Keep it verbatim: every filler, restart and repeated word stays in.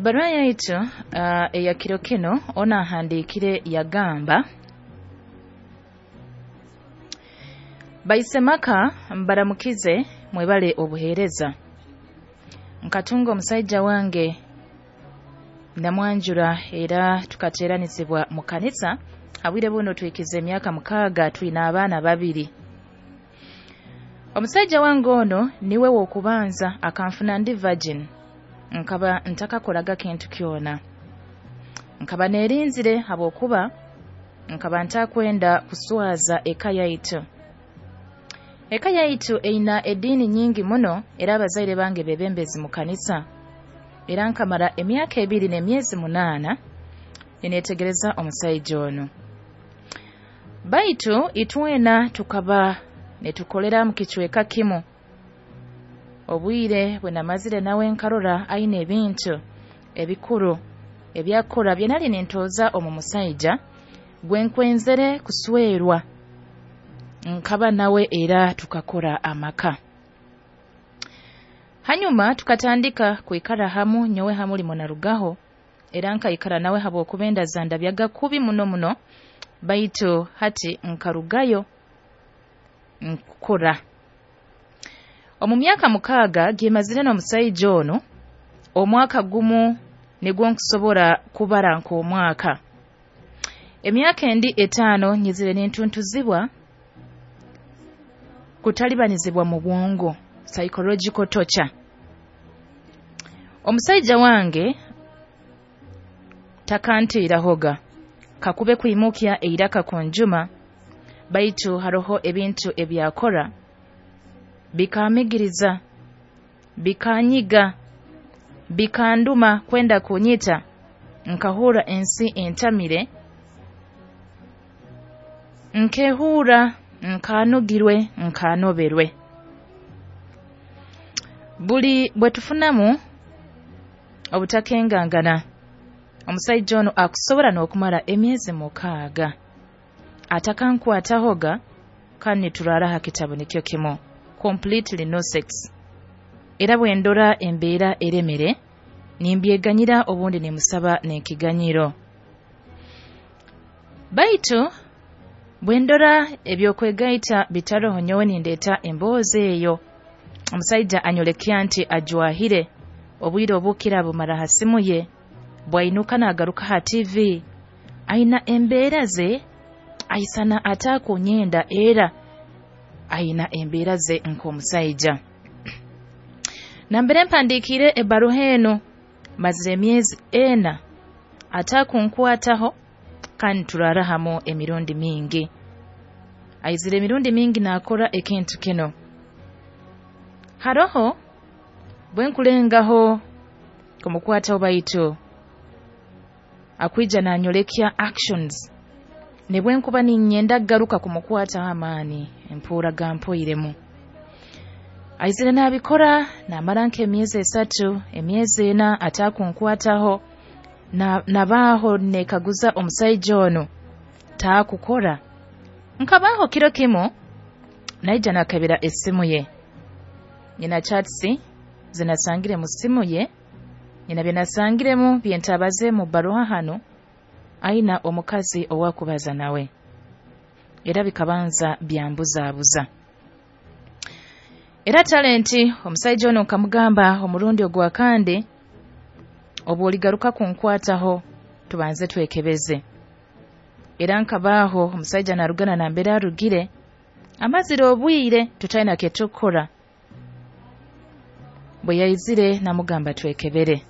Ebbaruha yaitu uh, eya kiro kino ono ahandiikire yagamba, "Baisemaka mbaramukize, mwebale obuheereza. Nkatunga omusaija wange namwanjura era tukateeranizibwa mu kanisa. Habwire buno twikize emyaka mukaaga, twina abaana babiri. Omusaija wange ono niwe w'okubanza akanfuna ndi virgin, nkaba ntakakoraga kintu kyona. Nkaba neerinzire habwokuba nkaba ntakwenda kuswaza eka yaitu. Eka yaitu eina ediini nyingi muno, era abazaire bange bebembezi mu kanisa. Era nkamara emyaka ebiri n'emyezi munaana nineetegereza omusaija onu. Baitu itwena tukaba nitukolera mu kicweka kimu. Obwire bwe namazire nawe nkarora aine ebintu ebikuru ebyakora bye nali nintooza omu musaija gwe nkwenzere kuswerwa. Nkaba nawe era tukakora amaka. Hanyuma tukatandika kwikara hamu, nyowe ha mulimo narugaho, era nkaikara nawe habwokuba enda zandabyaga kubi muno muno, baitu hati nkarugayo nkukora. Omu myaka mukaaga gyemazire n'omusaija onu, omwaka gumu nigwo nkusobora kubara nk'omwaka. Emyaka endi etaano nyizire nintuntuzibwa kutalibanizibwa mu bwongo, psychological torture. Omusaija wange takantiirahoga kakube kwimukya eiraka kunjuma, baitu haroho ebintu ebyakora bikaamigiriza, bikanyiga, bikanduma kwenda kunyita, nkahurra ensi entamire, nkehuura nkanugirwe, nkanoberwe. Buli bwe tufunamu obutakengangana, omusaija onu akusobora n'okumara emyezi mukaaga atakankwatahoga, kandi nituraara ha kitabu nikyo kimu, completely no sex. Era bwe ndora embeera eremere, nimbyeganyira, obundi nimusaba n'ekiganyiro. Baitu bwe ndora ebyokwegaita bitaroho, nyowe nindeeta emboozi eyo. Omusaija anyolekya nti ajwahire, obwire obukira bumara ha simu ye, bwainuka naagaruka ha T V, aina embeera ze aisana atakunyenda, era aina embeera ze nk'omusaija. Nambere mpandiikire ebbaruha enu, mazire emyezi ena atakunkwataho, kandi turaara hamu emirundi mingi. Aizire emirundi mingi naakora ekintu kinu. Haroho bwe nkulengaho kumukwataho, baitu akwija nanyolekya actions, nibwe nkuba ninyenda kugaruka kumukwataho amaani empuura gampoiremu. Aizire naabikora naamara nk'emyezi esatu, emyezi ena atakunkwataho, na, nabaaho neekaguza omusaija onu taakukora. Nkabaaho kiro kimu naija nakebera esimu ye, nyina chats zinasangire mu simu ye, nyina bye nasangiremu byentabaze mu bbaruha hanu, aina omukazi owakubaza nawe, era bikabanza byambuzaabuza. Era talenti omusaija ono nkamugamba omurundi ogwa kandi, obu oligaruka kunkwataho tubanze twekebeze. Era nkabaaho omusaija narugana nambere arugire, amazire obwire tutaina kyetukukora. Bwe yaizire namugamba twekebere.